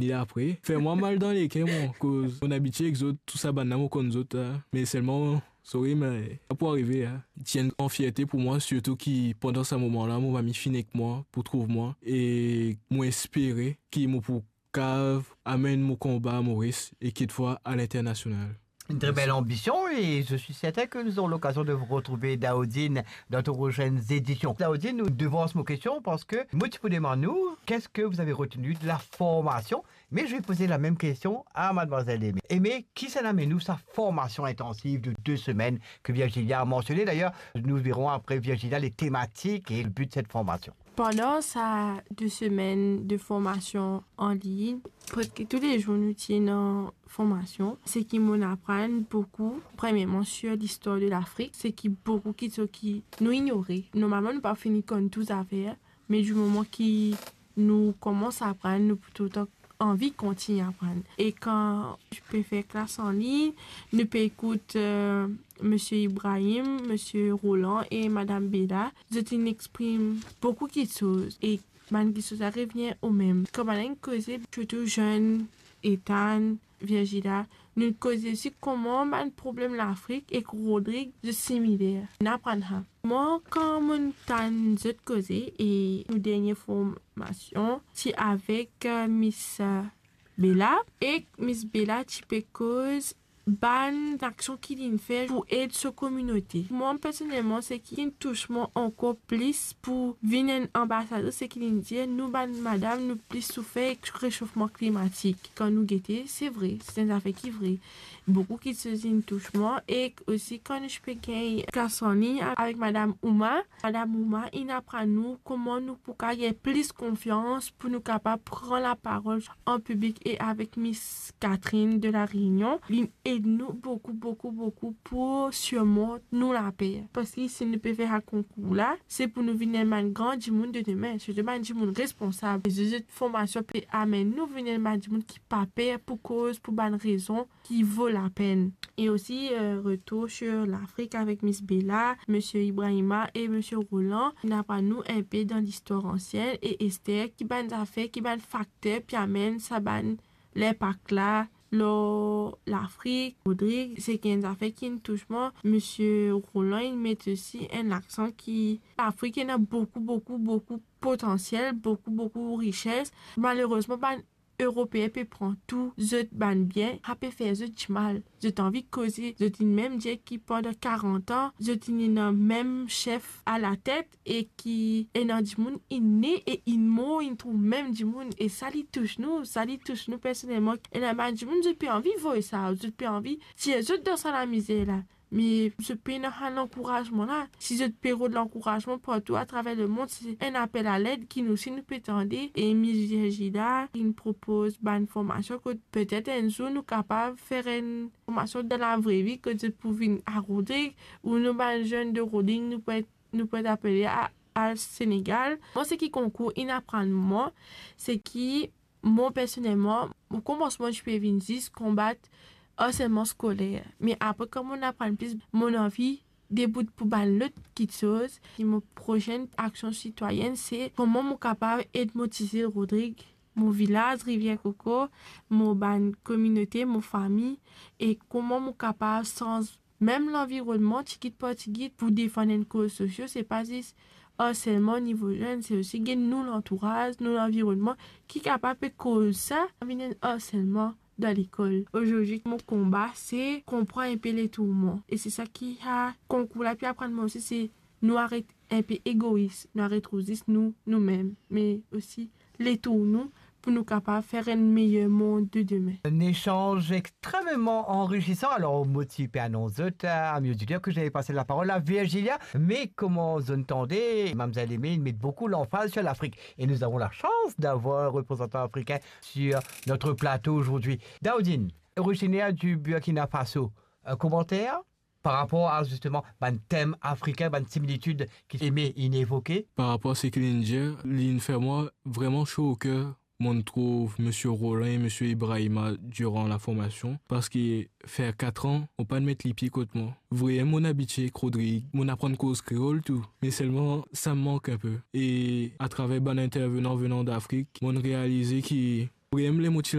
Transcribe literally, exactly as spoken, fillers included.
ni apre. Fer mwa mal dan leker, mwa, koz mo abitie ek zot, tou sa bann la, mo konn zot, la. Me selman, sorry, me sa pou arive, la. Ti enn gran fierte pou mwa, sirtou ki pandan sa moman la, mo fami finn ek mwa pou trouv mwa, e mo espere ki mo pou kav amenn mo konba a Moris e kitfwa a linternasional. Une très belle ambition et je suis certain que nous aurons l'occasion de vous retrouver, Daoudine, dans de prochaines éditions. Daoudine, nou devans mo kestion parski mo ti pou demann ou, qu'est-ce que vous avez retenu de la formation? Mais je vais poser la même question à mademoiselle Aimée. Aimée, ki sa amenn ou sa formation intensive de deux semaines que Virgilia a mentionné? D'ailleurs, nous verrons après, Virgilia, les thématiques et le but de cette formation. Pandan sa de semenn de formasion an lign, preske tou le zour nou ti ena formasion, seki mo'nn aprann boukou, premierman, sir listwar de Lafrik, seki boukou kiksoz ki nou ignore. Normalman, nou pa fini konn tou zafer, me di moman ki nou koumans aprann, nou pou toultan anvi kontign aprann. E kan nou pe fer klas an lign, nou pe ekout, eh, Misie Ibrahim, Misie Roland e Madam Bella. Zot inn exprim boukou kiksoz e bann kiksoz la revnir omem. Kan bann la inn koze, sirtou zenn, Ethan, Virgilia, nou koze osi kouma bann problem Lafrik ek Rodrig zot similer. Nou aprann sa. Mwa, kan mo'nn tann zot koze e nou dernie formasion ti avek, eh, Miss, eh, Bella, ek Miss Bella ti pe koz bann aksion ki li'nn fer pou ed so kominote. Mwa, personelman, seki inn tous mwa ankor plis pou vinn enn anbasader, seki li'nn dir, nou bann madam, nou plis soufer ek resofman klimatik. Kan nou gete, se vre, se enn zafer ki vre. Boukou kiksoz inn tous mwa, ek osi kan nou ti pe gagn klas an lign avek Madam Ouma, Madam Ouma inn aprann nou kouma nou pou kapav gagn plis konfians pou nou kapav pran laparol an piblik e avek Miss Catherine de La Réunion. Li'nn ed nou boukou, boukou, boukou pou sirmont nou laper. Parski si nou pe fer sa konkour la, se pou nou vinn enn bann gran dimoun de demin, sirtou bann dimoun responsab. E zot formasion pe amenn nou vinn enn bann dimoun ki pa per pou koz pou bann rezon ki vo lapenn. E osi, eh, retour sir Lafrik avek Miss Bella, Misie Ibrahima e Misie Roland. Inn aprann nou inpe dan listwar ansien e Esther, ki bann zafer, ki bann fakter pe amenn sa bann linpak la lor Lafrik. Rodrig, seki enn zafer ki'nn tous mwa. Misie Roland, inn met osi enn laksan ki Lafrik ena boukou, boukou, boukou potansiel, boukou, boukou rises. Malerezman, bann Eropeen pe pran tou zot bann bien, sa pe fer zot dimal. Zot anvi koze, zot inn mem dir ki pandan karant an, zot inn ena mem sef alatet e ki ena dimoun inn ne e inn mor, inn trouv mem dimoun. E sa li tous nou, sa li tous nou personelman. Ena bann dimoun, zot pe anvi voy sa, zot pe anvi tir zot dan sa lamizer la. Me zot pena sa lankourazman la. Si zot pe rod lankourazman partou atraver lemond, se enn apel aled ki nou osi nou pe tande. E Miss Virgilia inn propoz bann formasion kot petet enn zour nou kapav fer enn formasion dan lavre vi, kot zot pou vinn a Rodrig, ou nou bann zenn de Rodrig, nou pou et, nou pou et apele a, al Senegal. Mwa, seki konkour inn aprann mwa, seki mwa personelman, o komansman, ti pe vinn zis konbat arselman skoler. Me apre, kan mo'nn aprann plis, mo'nn anvi debout pou bann lot kiksoz. E mo prosenn aksion sitwayenn, se kouma mo kapav ed mo ti zil Rodrig, mo vilaz Rivier Coco, mo bann kominote, mo fami, e kouma mo kapav sanz mem lanvironnman tigit par tigit pou defann enn koz sosio. Se pa zis arselman nivo zenn, se osi gagn nou lantouraz, nou lanvironnman ki kapav pe koz sa, vinn enn arselman dan lekol. Ozordi, mo konba, se konpran inpe letourman. E se sa ki sa konkour la pe aprann mwa osi, se nou aret inpe egois, nou aret trouv zis nou, noumem, me osi letour nou, pou nou kapav fer enn meyer mond de demin. Un échange extrêmement enrichissant. Alors, mo ti pe anons zot, euh, amis auditeurs, que j'allais passer la parole à Virgilia, mais comme zot inn tande, Mamzelle Aimée met beaucoup l'emphase sur l'Afrique. Et nous avons la chance d'avoir un représentant africain sur notre plateau aujourd'hui. Daoudine, originaire du Burkina Faso, un commentaire par rapport à, justement, bann tem afrikin, bann similitid ki Aimée inn evoke? Par rapor seki li'nn dir, li'nn fer mwa vreman so oker, mo'nn trouv Misie Roland e Misie Ibrahima diran laformasion, parski fer kat an, mo pa'nn met lipie kot mwa. Vre, mo'nn abitie ek Rodrig, mo'nn aprann koz kreol tou, me selman sa mank inpe. E atraver bann intervenan venan d'Afrik, mo'nn realize ki problem ler mo ti